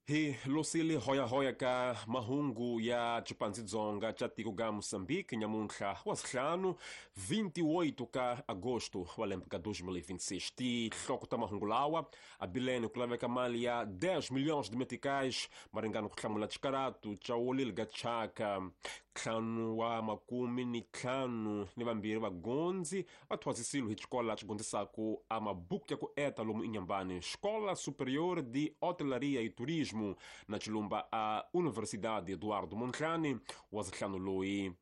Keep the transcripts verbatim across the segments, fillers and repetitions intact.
Hi losile hoya-hoya ka mahungu ya Chipanzi-Dzonga cha tiko ga Moçambique nyamuntlha wa sihlanu vinte e oito ka agosto wa lembe ka dois mil e vinte e seis. Tihloko ta mahungu lawa abilene ku laveka mali ya dez milhões de meticais maringana ku hlamula xikaratu cha wolile ga chaka ntlhanu wa makumi ni ntlhanu ni vambirhi vagondzi va thwasisiwe hi xikola xi gondzisaku a mabuku ya ku eta lomu Inhambane, Escola Superior de Hotelaria e Turismo na Chilumba a Universidade Eduardo Mondlane wa zihlanu loyi.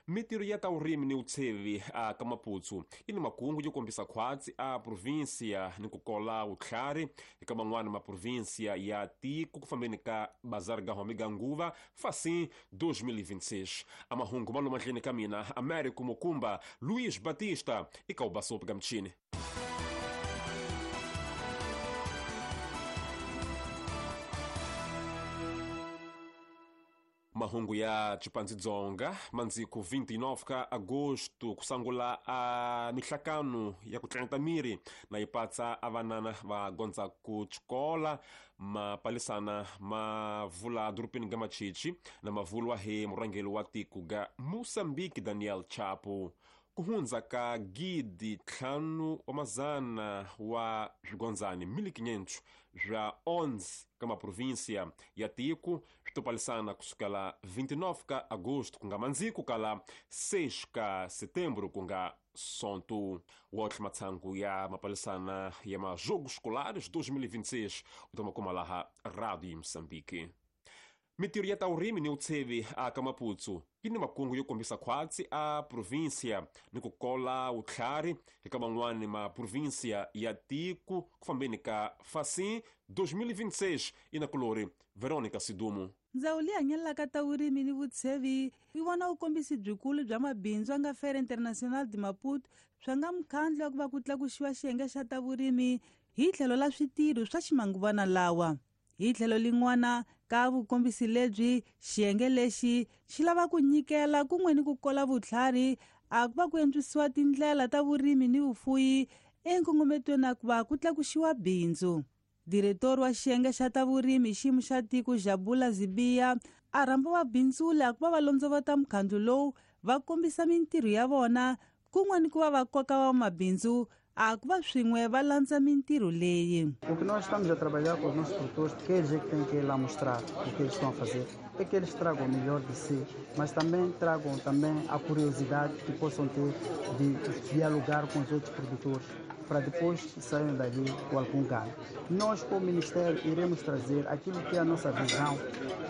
Mintirho ya ta vurimi ni vutshevi a ka Maputo yi ni makungu yo kombisa khwatsi a província ni ku kola vutlhari eka man'wana ma província ya tiko ku fambeni ka bazar ga home ga nguva Facim dois mil e vinte e seis. A mahungu ma lomu mahlweni ka mina Américo Mukumba, Luiz Batista e Kaubasope Gamchini. Mahungu ya Chipanzi-Dzonga mandziku vinte e nove ka agosto kusangula a mihlakano ya ku tlangeta miri na yipatsa a vanana va gondza ku xikola mapalisana ma vula dorobeni ga Machichi na mavulwa hi murhangeri wa tiko ga Moçambique Daniel Chapo. Ku hundza ka gidi ntlhanu wa mazana wa swigondzani mil e quinhentos swa onze ka maprovíncia ya tiko swi topalisana kusukela vinte e nove ka agosto ku nga mandziku kala seis ka setembro ku nga sonto. Wotlhe matshangu ya mapalisana ya majogos escolares dois mil e vinte e seis u ta ma kuma laha Rádio Moçambique. Mintirho ya ta vurimi ni vutshevi a ka Maputo yi ni makungu yo kombisa khwatsi a província ni ku kola vutlhari eka man'wana ma província ya tiko ku fambeni ka Facim dois mil e vinte e seis. Inakulori Veronica Sidumo. Ndzawulo leyi hanyelaka ta vurimi ni vutshevi yi vona vukombisi byikulu bya mabindzu a nga Feira Internacional de Maputo swa nga mukhandlu wa ku va ku tlakuxiwa xiyenge xa ta vurimi hi tlhelo la switirho swa ximanguvana lawa. Hi tlhelo lin'wana ka vukombisi lebyi xiyenge lexi xi lava ku nyikela kun'we ni ku kola vutlhari a ku va ku antswisiwa tindlela ta vurimi ni vufuyi enkongometweni a ku va ku tlakuxiwa bindzu. Diretor wa xiyenge xa ta vurimi xiyimo xa tiko Jabula Zibiya a rhamba vabindzuli a ku va va londzovota mukhandlu lowu va kombisa mintirho ya vona kun'we ni ku va va koka vamabindzu a ku va swin'we va landza mintirho leyi. O que nós estamos a trabalhar com os nossos produtores, que eles é que têm que ir lá mostrar o que eles estão a fazer, é que eles tragam o melhor de si, mas também tragam também a curiosidade que possam ter de dialogar com os outros produtores, para depois saírem dali com algum ganho. Nós, como Ministério, iremos trazer aquilo que é a nossa visão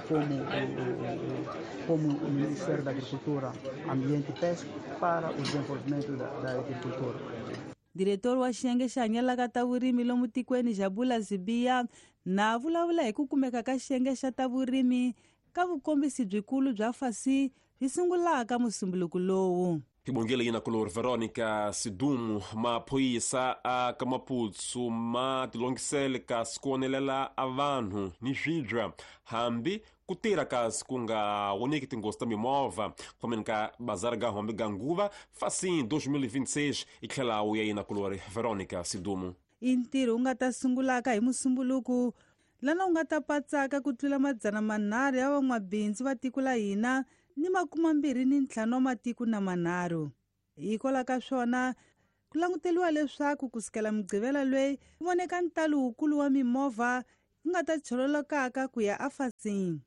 como o, como o Ministério da Agricultura, Ambiente e Pesca para o desenvolvimento da, da agricultura. Diretor wa xiyenge xa hanyelaka ta vurimi lomu tikweni Jabula Zibiya na vulavula hi ku kumeka ka xiyenge xa ta vurimi ka vukombisi byikulu bya Facim byi sungulaka musumbuluko lowu. Hibongile yina kulori Veronica Sidumo. Maphorisa a ka Maputo ma tilongisele kasi ku onelela a vanhu ni swibya hambi ku tirha kasi ku nga voneki tinghozi ta mimovha ku fambeni ka bazar ga hombe ga nguva Facim dois mil e vinte e seis. I tlhela wu ya yina kulori Veronica Sidumo. I ntirho wu nga ta sungulaka hi musumbuluko lana wu nga ta patsaka ku tlula madzana manharhu ya van'wabindzu va tiko la hina ni makuma mbirhi ni ntlhanu wa matiko na manharhu. Hikwalaho ka swona ku languteriwa leswaku kusukela Mugqivela loyi ku voneka ntalo wukulu wa mimovha wu nga ta chololokaka ku ya aFacim.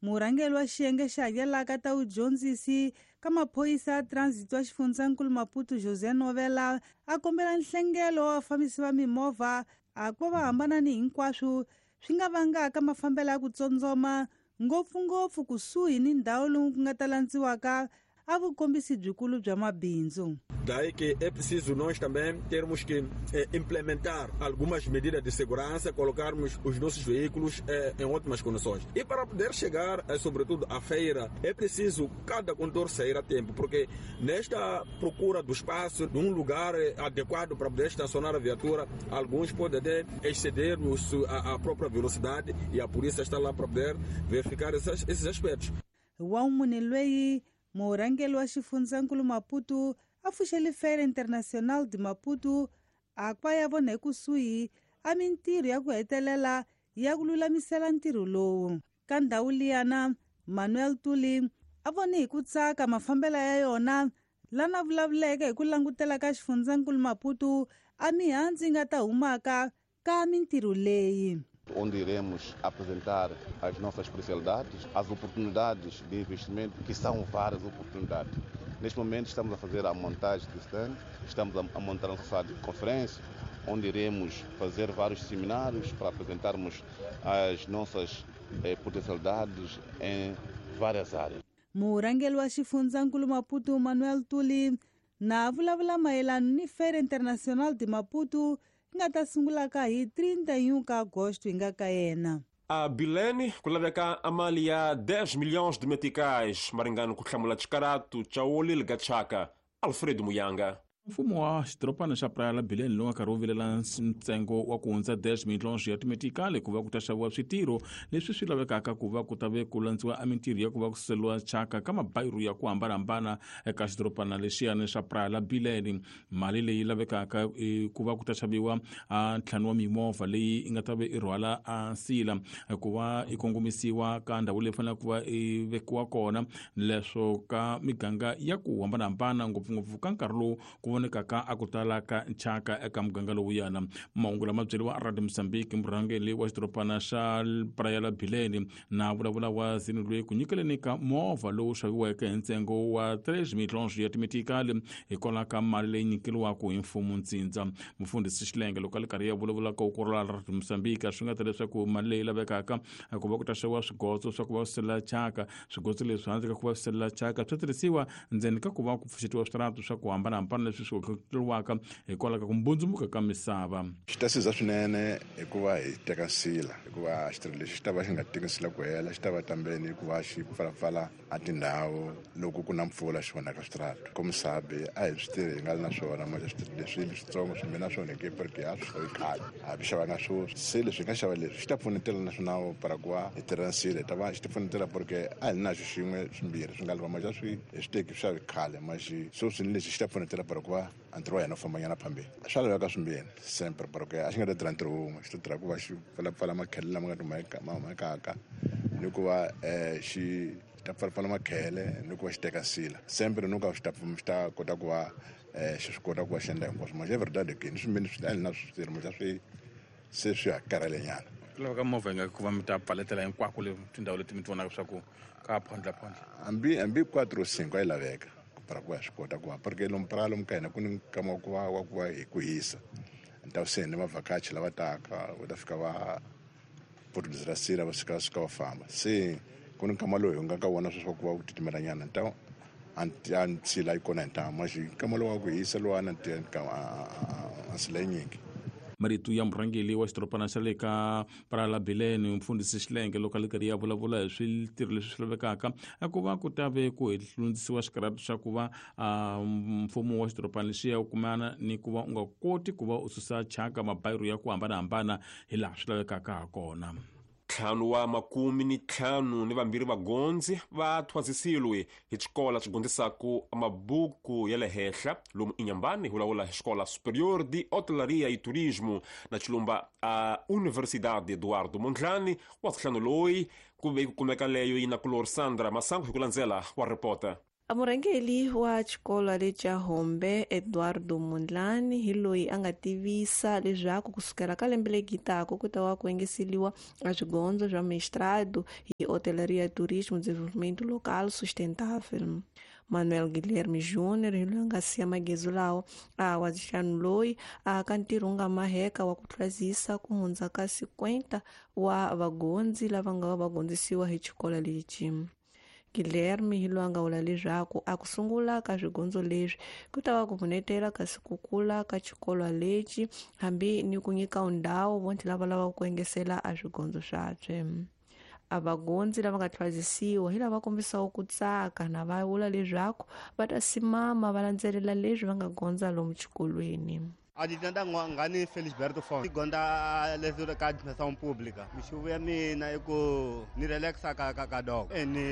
Murhangeri wa xiyenge xa hanyelaka ta vudyondzisi ka maphorisa ya transit wa xifundzankulu Maputo José Novela a kombela nhlengelo wa vafambisi va mimovha a ku va va hambana ni hinkwaswo swi nga vangaka mafambelo ya ku tsondzoma ngopfungopfu kusuhi ni ndhawu lomu ku nga ta landziwaka a vukombisi byikulu bya mabindzu. Daí que é preciso nós também termos que eh, implementar algumas medidas de segurança, colocarmos os nossos veículos eh, em ótimas condições. E para poder chegar, eh, sobretudo, à feira, é preciso cada condutor sair a tempo, porque nesta procura do espaço, de um lugar eh, adequado para poder estacionar a viatura, alguns podem até exceder os, a, a própria velocidade e a polícia está lá para poder verificar esses, esses aspectos. Wa loyi murhangeri wa xifundzankulu Maputo a pfuxele Feira Internacional de Maputo a ku va ya vona ekusuhi a mintirho ya ku hetelela ya ku lulamisela ntirho lowu. Ka ndhawu liyana, Manuel Tuli a vone hi ku tsaka mafambelo ya yona lana vulavuleke hi ku langutela ka xifundzankulu Maputo a mihandzu yi nga ta humaka ka mintirho leyi. Onde iremos apresentar as nossas especialidades, as oportunidades de investimento, que são várias oportunidades. Neste momento estamos a fazer a montagem de stand, estamos a montar nossa sala de conferência, onde iremos fazer vários seminários para apresentarmos as nossas eh, potencialidades em várias áreas. Murhangeri wa xifundzankulu Maputo Manuel Tuli na vulavula mayelana ni Feira Internacional de Maputo nga ta sungulaka hi trinta e um ka agosto hi nga ka yena. A Bilene ku laveka a mali ya dez milhões de meticais maringano ku hlamula xikaratu xa Olil Gachaka. Alfredo Muyanga. Mfumo wa xidorobana xa Praia la Bilene lowu nga karhi wu vilela ntsengo wa ku hundza dez milhões ya timetikali ku va ku ta xaviwa switirho leswi swi lavekaka ku va ku ta ve ku landziwa emintirho ya ku va ku suseliwa thyaka ka mabayiro ya ku hambanahambana eka xidorobana lexiyani xa Praia la Bilene. Mali leyi lavekaka ku va ku ta xaviwa a ntlhanu wa mimovha leyi yi nga ta ve i rhwala a nsila ku va i kongomisiwa ka ndhawu leyi faneleke ku va i vekiwa kona leswo ka miganga ya ku hambanahambana ngopfungopfu ka nkarhi lowu ku vonekaka a ku tala ka nchaka eka muganga lowuyana. Mahungu lama byeriwa Radio Mozambique murhangeri wa xidorobana xa Praia la Bilene na vulavula wa zini loyi ku nyikeleni ka movha lowu xaviweke hi ntsengo wa três milhões ya timetikali hikwalaho ka mali leyi nyikeriwaka hi mfumo ntsindza. Mufundhisi Xilenge loko a li karhi ya vulavula ka ukurula Radio Mozambique swi nga ta leswaku mali leyi lavekaka ku va ku ta xaviwa swigotso swa ku va swi thyaka, swigotso leswi handle ka ku va swi selela thyaka swi tirhisiwa ndzeni ka ku va ku pfuxetiwa switarata swa ku hambanahambana leswi swi tluriwaka hikwalaho ka ku mbundzumuka ka misava. Xi ta siza swinene hikuva hi teka nsila, hikuva xitirho lexi xi ta va xi nga teki nsila ku hela, xi ta va tambeni hikuva xi pfalapfala a tindhawu loko ku na mpfula xi onhaka switarata. Komisabi a hi swi tirhi hi nga ri na swona ma switirho leswi leswitsongo swi na swona ke porque a swi xavi khale, a swi xavanga sweswi. Se leswi hi nga xava leswi xi ta pfunetela naswona para ku va hi tirha nsila hi ta va xi ta pfunetela porque a hi na xo xin'we swimbirhi swi nga lava ma xa swi hi swi teki swi xavi khale ma xi sweswi ni lexi xi ta pfunetela para ku va ntirho wa hina wu fambanyana phambili. Swa laveka swimbirhi sempre porque a xi nga ta tirha ntirho wun'we, xi ta tirha ku va xi pfalapfala makhele lama nga ti ma humakaka ni ku va xi ta pfalapfala makhele ni ku va xi teka nsila sempre ni ku xi ta xi ta kota ku va xi swi kota ku va xi endla hinkwaswo. Ma xa verdade ke ni swimbirhi swi a hi na switirho ma xa swi se swi ha karhalenyana. Ku laveka movha yi nga ku va mi ta pfaletela hinkwako le tindhawu leti mi ti vonaka swa ku ka phondla phondla hambi hambi quatro cinco a yi laveka para ku va swi kota ku va porque lomu Praia lomu ka hina ku ni nkama wa ku va wa ku va hi ku hisa ntawu se ni vavhakachi lava taka va ta fika va producer sira va suka suka va famba se ku ni nkama lowu hi nga ka wona sweswi wa ku va ku titimelanyana ntawu a nsila yi kona hi ntamu ma xi nkama lowu wa ku hisa luwana a nsila yinyingi. Marito ya murhangeri wa xidorobana xa le ka Praia la Bilene mufundhisi Xilenge loko a li karhi ya vulavula hi switirho leswi swi lavekaka ku va ku ta ve ku hlundzisiwa xikarhatu xa ku va mfumo wa xidorobana lexiya u kumana ni ku va u nga koti ku va u susa thyaka mabayiro ya ku hambanahambana hi laha swi lavekaka ha kona. Ntlhanu wa makumi ni ntlhanu ni vambirhi vagondzi va thwasisiwe hi xikola xi gondzisaku mabuku ya le henhla lomu Inhambane hi lawula Escola Superior de Hotelaria e Turismo na xilumba a Universidade Eduardo Mondlane wa ntlhanu loyi ku ve ku kumeka leyo yi na kulor Sandra Masango hi ku landzela wa reporter. Murhangeri wa xikolo lexa Hombe Eduardo Mondlane hi loyi a nga tivisa leswaku kusukela ka lembe leri taka ku ta va ku engeseriwa a swigondzo swa mestrado hi Hotelaria e Turismo Desenvolvimento Local Sustentável. Manuel Guilherme Júnior hi loyi a nga siya magezu lawa a wa ntlhanu loyi a ka ntirho wu nga maheka wa ku tlwazisa ku hundza ka cinquenta wa vagondzi lava nga va va gondzisiwa hi xikolo lexi. Guilherme hi loyi a nga vula leswaku a ku sungula ka swigondzo leswi ku ta va ku pfunetela kasi ku kula ka xikolo lexi hambi ni ku nyika ndhawu vontlhe lava lavaka ku engesela a swigondzo swabye. A vagondzi lava nga tlwazisiwa hi lava kombisaka ku tsaka na va vula leswaku va ta simama va landzelela leswi va nga gondza lomu xikolweni. Aditanda ngani Felisberto Fon gonda leswi ka administração pública mixuvo ya mina i ku ni relaxa ka ka ka dog e ni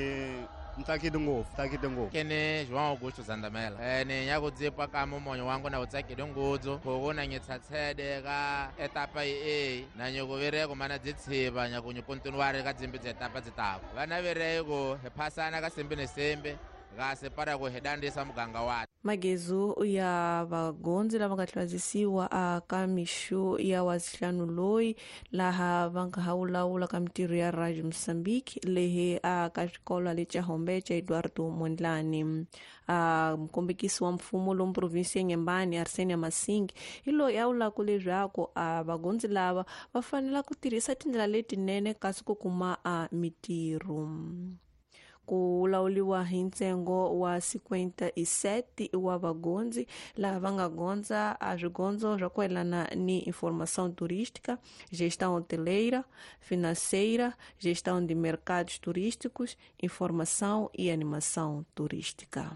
Ntsakile ngopfu, tsakile ngopfu. Kene João Augusto Zandamela. Eh ni ya ku dzipa ka mumonyo wangu na utsakile ngudzu. Ku na ngitsatsede ka etapa e na nyukuvireko mana dzitsiva nyakunyu kontinuare ka dzimbi dza etapa dzitako. Vana vireko hi phasana ka sembe ni sembe. Ga para ku hedandisa muganga wa magezo ya vagondzi lava nga hlwazisiwa aka mixo ya wasihlanu loyi laha va nga ha wulawula ka mitirho ya Radio Mozambique lehe aka xikolo lexa Hombe xa Eduardo Mondlane. A mukombekisi wa mfumo lomu provinsi ya Nyembani Arsenia Masingi hi loyi a wulaku leswaku a vagondzi lava va fanela ku tirhisa tindlela letinene kasi ku kuma a mitirho. Ku lawuliwa hi ntsengo wa cinquenta e sete wa vagondzi lava va nga gondza a swigondzo swa ku yelana ni informação turística, gestão hoteleira, financeira, gestão de mercados turísticos, informação e animação turística.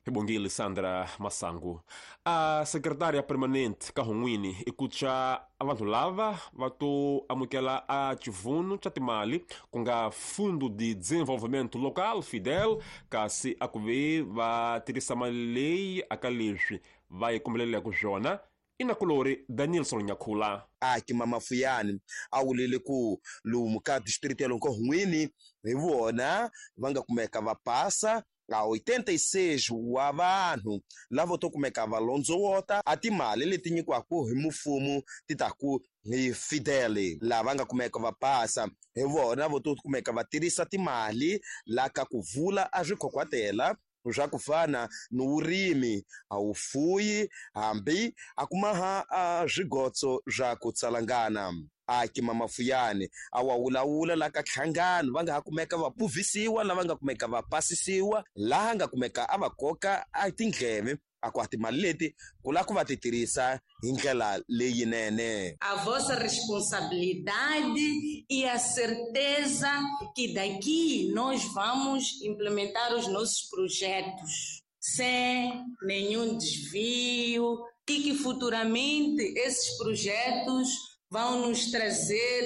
Bongile Sandra Masangu. A secretária permanente Kahunwini ikucha abantu lava vatu amukela a chivuno cha timali kunga Fundo de Desenvolvimento Local Fidel kasi akuve va tirhisa mali leyi aka leswi va yi kumbelelaka ku swona. Inakulori Danielson Nyakhula. Aki mama Fuyani a wulile ku lomu ka district ya Lonkohunwini hi vona va nga kumeka va pasa a oitenta e seis wa vanhu lavo to kumeka va londzowota a timali leti nyikiwaka hi mfumo ti ta ku hi Fidel lava nga kumeka va pasa hi vona vo to kumeka va tirhisa timali la ka ku vula a swikhokhwatela swa ku fana ni vurimi a wu fuyi hambi a kumaha a swigotso swa ku tsalangana. Aki mama Fuyani a wa wulawula la ka hlangano va nga ha kumeka va puvisiwa lava nga kumeka va pasisiwa laha nga kumeka a va koka a tindleve a ku timali leti ku la ku va ti tirhisa hi ndlela leyinene. A vossa responsabilidade e a certeza que daqui nós vamos implementar os nossos projetos sem nenhum desvio e que futuramente esses projetos vão nos trazer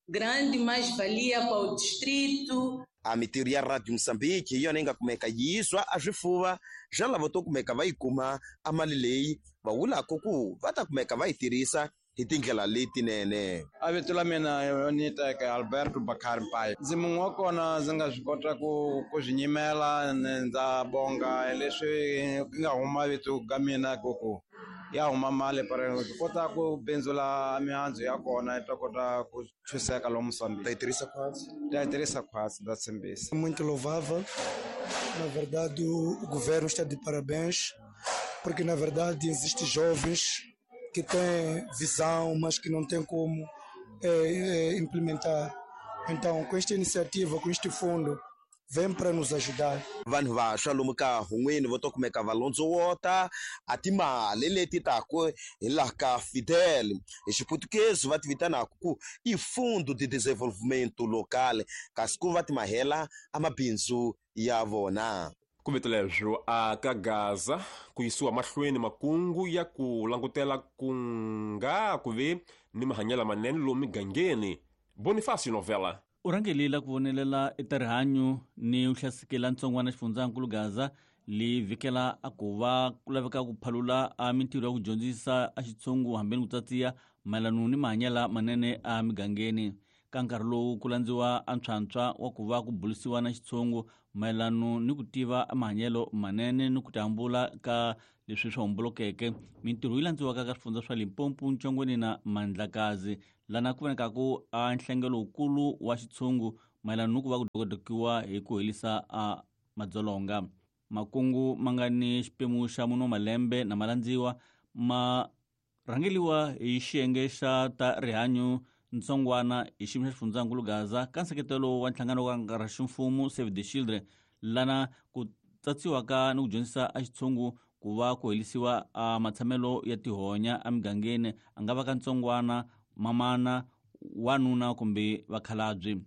grande mais-valia para o distrito. A mitirho ya Radio Mozambique hi yona yi nga kumeka yiswa a swifuva swa lava to kumeka va yi kuma a mali leyi va wulaka ku va ta kumeka va yi tirhisa hi tindlela letinene. A vito la mina ni teka Alberto Bakari Mpayi. Ndzi mun'we wa kona ndzi nga swi kota ku ku swi nyimela ndza bonga leswi nga huma vito ka mina ku ku ya huma mali para kota ku bindzula mihandzu ya kona yi ta kota ku chuseka lomu Mozambique. Ta yi tirhisa khwatsi? Ta yi tirhisa khwatsi, ndza tshembisa. Muito louvável. Na verdade, o governo está de parabéns, porque na verdade existem jovens que têm visão, mas que não têm como é, é, implementar. Então, com esta iniciativa, com este fundo, vem para nos ajudar. Vanhu vantshwa lomu ka Hun'wini vo to kumeka va londzowota a timali leti taku hi laha ka Fidel hi xiputukezi va ti vitanaka ku i Fundo de Desenvolvimento Local kasi ku va ti mahela a mabindzu ya vona. Ku leswo a ka Gaza ku yisiwa mahlweni makungu ya ku langutela ku nga ku ve ni mahanyelo manene lomu migangeni. Bonifacio Novela. U rhangelela ku vonelela eka rihanyo ni u hlasekela ntsongwana xifundzankulu Gaza li vhikela a ku va ku laveka ku phalula a mintirho ya ku dyondzisa a xitshungu hambeni ku tsatsiya mayelano ni mahanyelo manene a migangeni. Ka nkarhi lowu ku landziwa a ntshwantshwa wa ku va ku bulisiwa na xitshungu mayelano ni ku tiva mahanyelo manene ni ku tihambula ka leswi swi hombolokeke. Mintirho yi landziwaka ka swifundza swa Limpopo, Ntshongweni na Mandlakazi lana ku vonekaku a nhlengelo wukulu wa xitshungu mayelana ni ku va ku dokodokiwa hi ku helisa a madzolonga. Makungu ma nga ni xipemu xa mune wa malembe na malandziwa ma rhangeliwa hi xiyenge xa ta rihanyo ntsongwana hi xiyimo xa xifundzankulu Gaza ka nseketelo wa nhlangano wa nkarhi ximfumo Save the Children lana ku tsatsiwaka ni ku dyondzisa a xitshungu ku va ku helisiwa a matshamelo ya tihonya emigangeni a nga va ka ntsongwana, mamana, wanuna kumbe vakhalabye.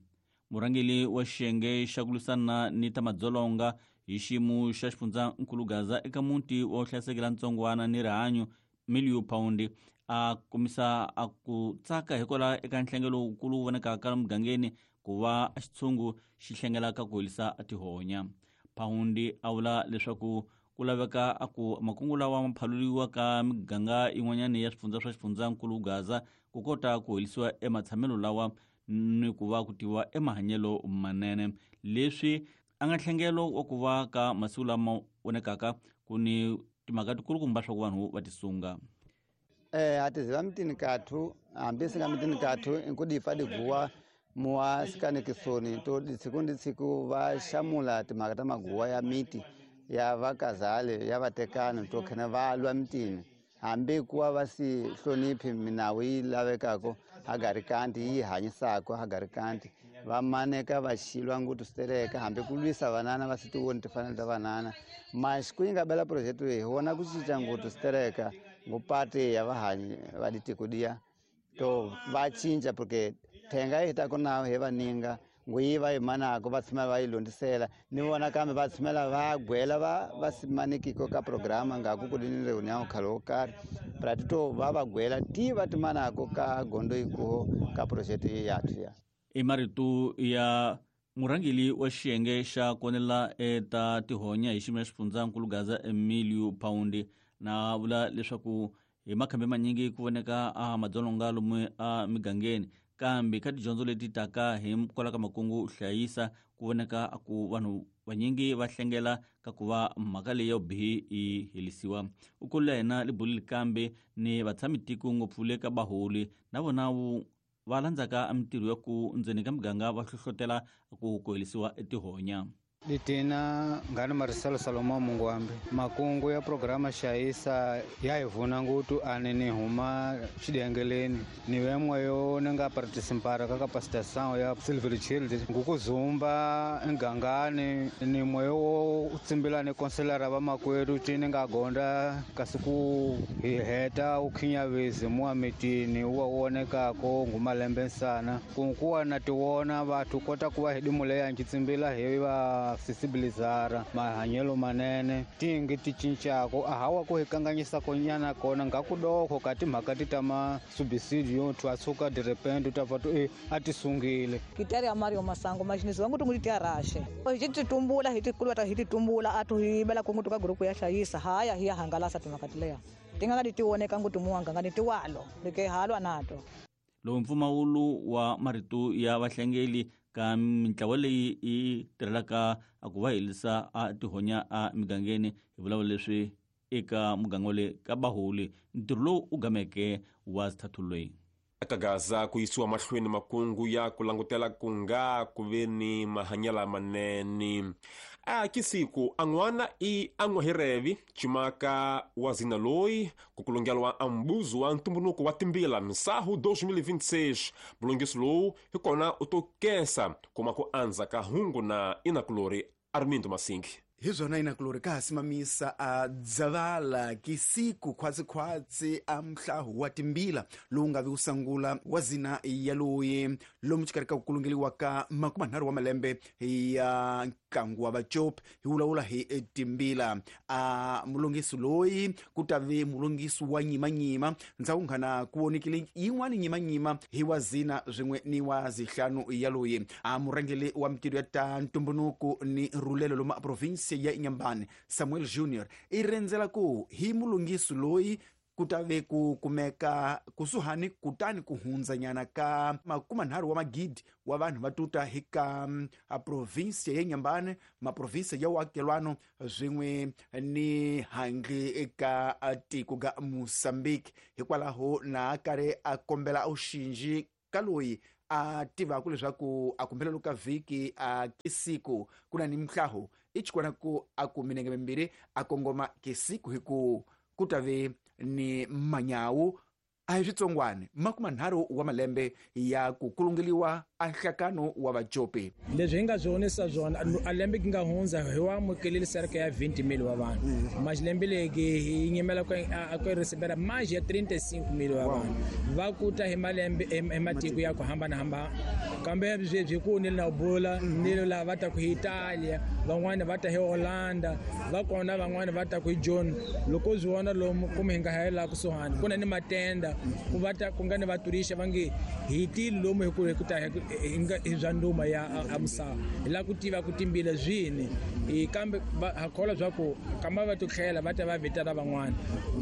Murhangeri wa xiyenge xa ku lwisana ni ta madzolonga hi xiyimo xa xifundzankulu Gaza eka muti wa hlayisekela ntsongwana ni rihanyo Milio Paundi a kombisa a ku tsaka hikwalaho eka nhlengelo wukulu wu vonekaka mugangeni ku va xitshungu xi hlengelaka ku helisa tihonya. Paundi a vula leswaku ku laveka a ku makungu lawa ma phaluliwa ka miganga yin'wanyana ya swifundza swa xifundzankulu Gaza ku kota ku helisiwa ematshamelo lawa ni ku va ku tiwa emahanyelo manene. Leswi a nga nhlengelo wa ku va ka masiku lama vonekaka ku ni timhaka tikulukumba swa ku vanhu va tisunga. Eh a tiziva mitini kathu hambi singa mitini kathu inkudipa diguwa muwa sikanekisoni to ditsiku ni ditsiku va xamula timhaka ta maguwa ya miti ya vakazale ya vatekani to khene va lwa mitini hambi kuwa va si hloniphi minawu yi lavekako hagarikanti yi hanyisako hagarikanti va maneka va xilwa nguthu switereka hambi ku lwisa vanana va si tivoni timfanelo ta vanana. Mas ku yi nga bela project leyi hi vona ku cinca nguthu switereka ngopati ya vahanyi va ditiko diya to va cinca porque thenga yi ta ku na hi vaninga nguyi va yi manako va tshama va yi londisela ni vona kambe va tshamela va gwela va va simanikiko ka programa nga ku ku ni reunião khale wo karhi pra to va va gwela ti va ti manako ka gondo ikuho ka project ya ya. I marito ya murhangeli wa xiyenge xa konela eta tihonya hi xiyimo xa xifundzankulu Gaza Emilio Paundi na vula leswaku hi makhambi manyingi ku voneka a madzolonga lomu a migangeni kambe ka tidyondzo leti taka hi kwala ka makungu hlayisa ku voneka ku vanhu vanyingi va hlengela ka ku va mhaka leyi yo bihi yi helisiwa. U kula yena libulile kambe ni vatshami tiko ngopfu le ka baholi na vona va landzaka mintirho ya ku ndzeni ka miganga va hlohlotela ku ku helisiwa etihonya. Litina ngani Marcelo Salomão Mungwambi makungu ya programa xayisa ya hi vuna ngutu ani ni huma xidengeleni ni vemwe yo ni nga participara ka capacitação ya Silver Child ngukuzumba engangani ni mwe wo tsimbila ni konselara va makwerhu ti ni nga gonda kasi ku hi heta u khinyavezi muwa mitini wa wonekako ngumalembe nsana kunkuwa na tiwona vathu kota ku va hi dimuleya nci tsimbila hi va sensibilizara mahanyelo manene tingi ti cincako a hawa ku hi kanganyisa konyana kona nga ku doko ka timhaka ti ta ma subsidio tu asuka de repente ta va tu e a ti sungile kitari ya Mario Masango majinizi wangu tungu ti arashe hi ti tumbula hi ti kulwa hi ti tumbula atu hi bela kungu tuka grupu ya hlayisa haya hi ya hangalasa timhaka tileya tinga nga ti woneka ngutu muwanga nga ni tiwalo like halwa nato. Lowu mpfumawulo wa marito ya vahlengeli ka mintlawa leyi yi tirhelaka a ku va helisa a tihonya a migangeni hi vulavula leswi eka muganga le ka baholi ntirho lowu u gameke wa sithathu. Eka Gaza ku yisiwa mahlweni makungu ya ku langutela ku nga ku ve ni mahanyelo manene. A kisiku an'wana i an'wahirevi cimaka wa zina loyi ku kulungelwa ambuzo wa ntumbunuko wa timbila misahu dois mil e vinte e seis. Mulungiso lowu hi kona u to kesa kuma ku andza ka hungu na inakulori Armindo Masingi. Hi zwona inakulori ka ha simamisa a dzavala kisiku khwatsikhwatsi a mhlahu wa timbila lowu nga vi wu sangula wa zina ya loyi lomu xikarhi ka ku kulungeliwa ka makumanharhu wa malembe ya ntlangu wa vacopi hi vulavula hi timbila. A mulungisi loyi ku ta ve mulungisi wa nyimanyima ndzhaku nghana ku vonekile yin'wani nyimanyima hi wa zina swin'we ni wa zihlanu ya loyi. A murhangeli wa mintirho ya ta ntumbunuko ni rhulelo lomu a province ya Inhambane Samuel Junior i rendzela ku hi mulungisi loyi ku ta ve ku kumeka kusuhani kutani ku hundzanyana ka makumanharhu wa magidi wa vanhu va tuta hi ka a province ya Inhambane maprovinsi ya wakelwano swin'we ni handle eka tiko ga Mozambique. Hikwalaho na karhi a kombela auxinji ka loyi a tivaka leswaku a kumbela ka vhiki a kisiku ku na ni mhlaho i chikwana ku a ku minenge mimbirhi a kongoma kisiku hi ku ku ta ve ni manyawu a hi switsongwana makumanharhu wa malembe ya ku kulungeliwa a nhlakano wa vacopi. Leswi hi nga swi vonisa swona a lembe ki nga hundza hi wa amukelile cerca ya vinte mil wa vanhu mas lembe leki hi nyimela ku ku recebera mais ya trinta e cinco mil wa vanhu va kuta hi malembe hi matiko ya ku hambanahambana kambe sweswi ku ni na bula ni lava va ta ku hi Italia van'wana va ta hi Holanda va kona van'wana va ta ku hi John loko swi vona lomu kumbe hi nga hela kusuhani ku na ni matenda Ku va ta ku nga ni vaturisha va nge hi tili lomu hi ku hi ku ta hi bya nduma ya a misava. Hi lava ku tiva ku timbila zwini. Kambe ha kholwa bya ku kama va to tlhela va ta va vitana van'wana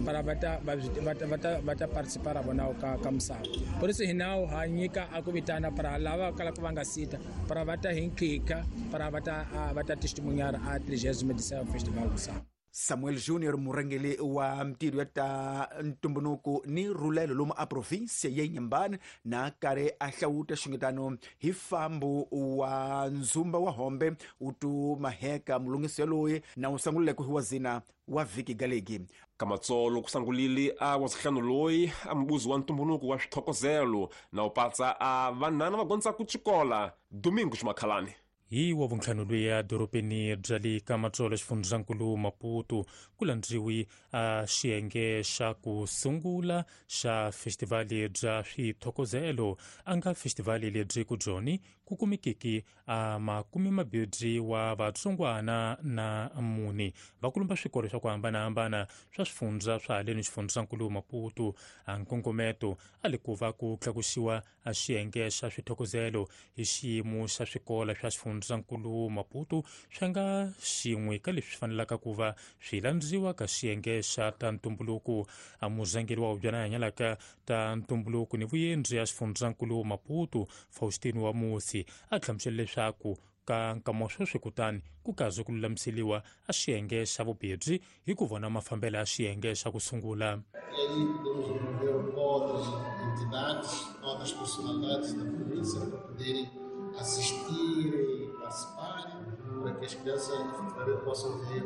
para va ta va ta va ta va ta participar vona ka ka misava. Por isso hi nawu ha nyika a ku vitana para lava kalaka va nga sita para va ta hi nkika para va ta va ta testemunhar a trigésima edição Festival Misava. Samuel Junior murhangeri wa mintirho ya ta ntumbuluko ni rhulelo lomu a provinsia ya Inhambane na karhi a hlawuta xungetano hi fambo wa ndzumba wa Hombe wu tu maheka mulungisi yaloye na wu sanguleke hi wa zina wa vhiki galegi. Kamatsolo ku sangulile a wa sihlanu loyi a mubuzi wa ntumbuluko wa swithokozelo na wu patsa a vanhana va gondzaku xikola Domingo Ximakhalani. Hi wa vuntlhanu luya dorobeni bya le Kamatsolo xifundzankulu Maputo ku landziwi a xiyenge xa ku sungula xa festivali bya swithokozelo a nga festivali lebyi ku byoni ku kumekiki a makume mabirhi wa vatsongwana na mune va kulumba swikolo swa ku hambanahambana swa swifundza swa haleni xifundzankulu Maputo. A nkongometo a le ku va ku tlakusiwa a xiyenge xa swithokozelo hi xiyimo xa swikolo swa xifundzankulu Maputo swi nga xin'we ka leswi fanelaka ku va swi landziwa ka xiyenge xa ta ntumbuluko. A murhangeri wa hubyana hanyalaka ta ntumbuluko ni vuyendzi ya xifundzankulu Maputo Faustino wa Musi a hlamusela leswaku ka nkama sweswi kutani ku kaze ku lulamiseliwa a xiyenge xa vubirhi hi ku vona mafambelo ya xiyenge xa ku sungula. E aí podemos envolver outras entidades, outras personalidades da província para poderem assistir e participarem, para que as crianças efetivamente possam ver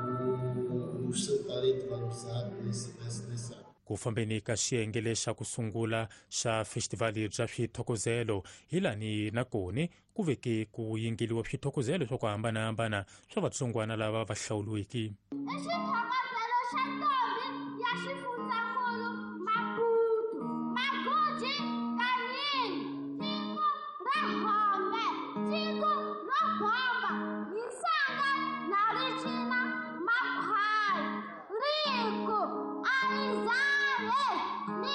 o, o seu talento valorizado nesse, nesse, nesse ano. Ku fambeni ka xiyenge lexa ku sungula xa festivali bya swithokozelo hi lani na koni ku veke ku yingeliwa swithokozelo swa ku hambanahambana swa vatsongwana lava va hlawuriweke. I xithokozelo xa ntombi ya xifundzankulu Maputo, Maguji Kanini, tiko ra Hombe, tiko ro bomba, Misanga na ricina makhwaya, riku a ri zale.